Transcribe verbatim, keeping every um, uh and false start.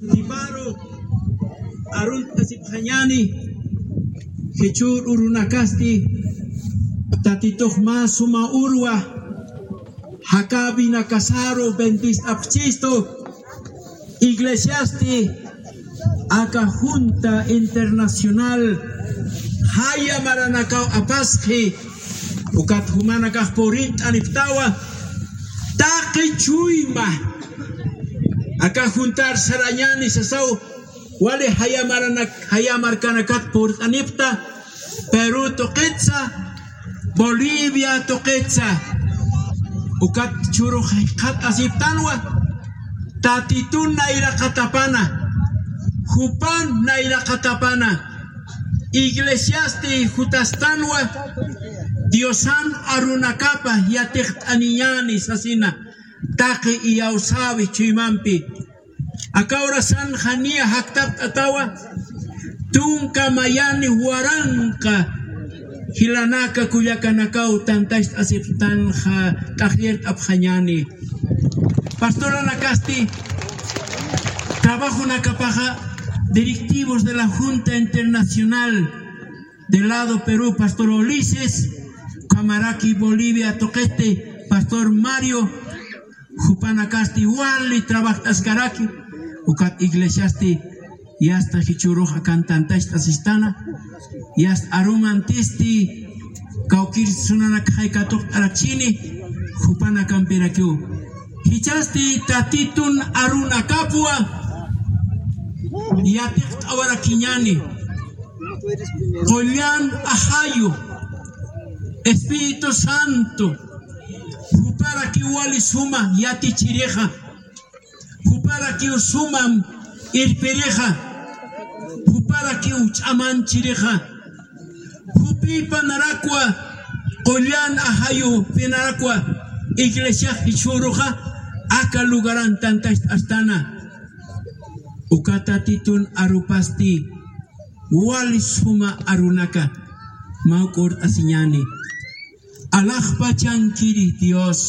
Tiparu arunt'asipxañäni, jichhür urunakasti Tatitux mä suma urwa jakäwinakasaru bendist'apxistu. Iglesiasti aka Junta Internacional jaya maranakaw apasxi, ukat jumanakax purint'anipxtawa taqi chuyma. Aka juntar sarañäni sasaw, wali jaya maranak-, jaya markanakat purt'anipxta, Perú tuqitsa, Bolivia tuqitsa, ukat churux jikxatasipxtanwa, Tatitun nayraqatapana, jupan nayraqatapana, iglesiasti jutastanwa, Diosan arunakapa yatiqt'aniñäni sasina, taqi iyawsäwi chuymampi. Aka urasan janiya jaktapt'atawa, tunka mayani waranqa jilanaka kullakanakaw tantacht'asipxtanxa t'aqllirt'apxañäni. Pastoranakasti trabajonakapaxa directivos de la Junta Internacional del lado Perú, Pastor Ulises, ukhamaraki Bolivia tuqiti, Pastor Mario, jupanakasti wali trabajt'askaraki, ukat iglesiasti yasta jichhürux akan tantacht'asistana, yasta arumantisti kawkïr sunanak jay katuqt'arakchini, jupanakampirakïw. Jichhasti Tatitun arunakapwa yatiqt'awarakiñäni. Qullan ajayu, Espíritu Santo, juparakiw wali suma yatichirixa, juparakiw sumam irpirixa, juparakiw ch'amanchirixa, jupïpanarakwa, qullan ajayupinarakwa iglesiax jichhüruxa aka lugaran tantacht'astana. Uka Tatitun arupasti wali suma arunaka mä urt'asiñäni. Alaxpachankiri Dios.